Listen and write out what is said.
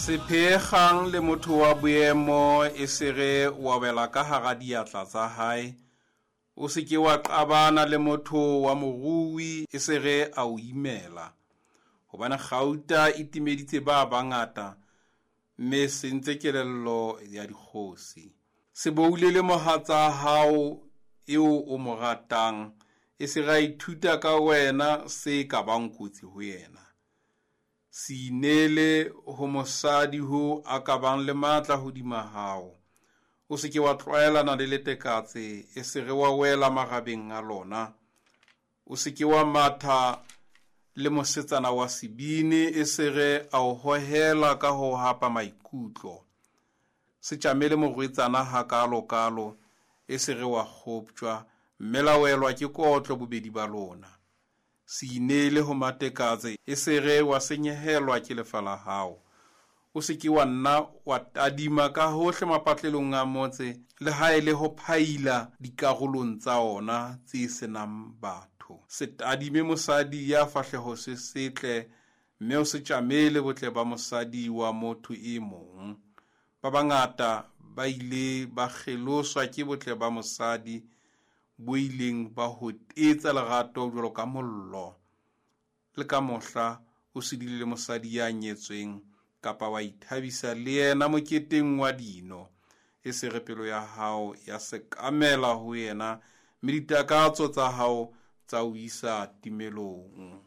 Se pheekgang le motho wa boemo e sere wa wela ka hara diatla tsa hae. O se ke wa qabana le motho wa morui e sere a o imela. Hobane kgauta e timeditse ba bangata, mme sentse kelello ya dikgosi. Se boulele mohatsa hao eo o mo ratang, e se ra ithuta ka wena se ka bang kotsi ho yena. Se ineele ho mosadi ho a ka bang le matla hodima hao. O se ke wa tlwaelana le letekatse, e se re wa wela marabeng a lona. O se ke wa matha le mosetsana wa sebini, e se re a o hohela ka ho hapa maikutlo. Se tjamele morwetsana hakalo-kalo, e se re wa kgoptjwa, mme la welwa ke kotlo bobedi ba lona. Se ineele ho matekatse, e se re wa senyehelwa ke lefa la hao. O se ke wa nna wa tadima ka hohle mapatlelong a motse, le ha e le ho phaila dikarolong tsa ona tse senang batho. Se tadime mosadi ya fahleho se setle, mme o se tjamele botle ba mosadi wa motho e mong. Ba bangata ba ile ba kgeloswa ke botle ba mosadi bo ileng ba hotetsa lerato jwalo ka mollo. Le ka mohla o se dule le mosadi ya nyetsweng kapa wa ithabisa le yena moketeng wa dino, e se re pelo ya hao ya sekamela ho yena, mme ditakatso tsa hao tsa o isa timelong.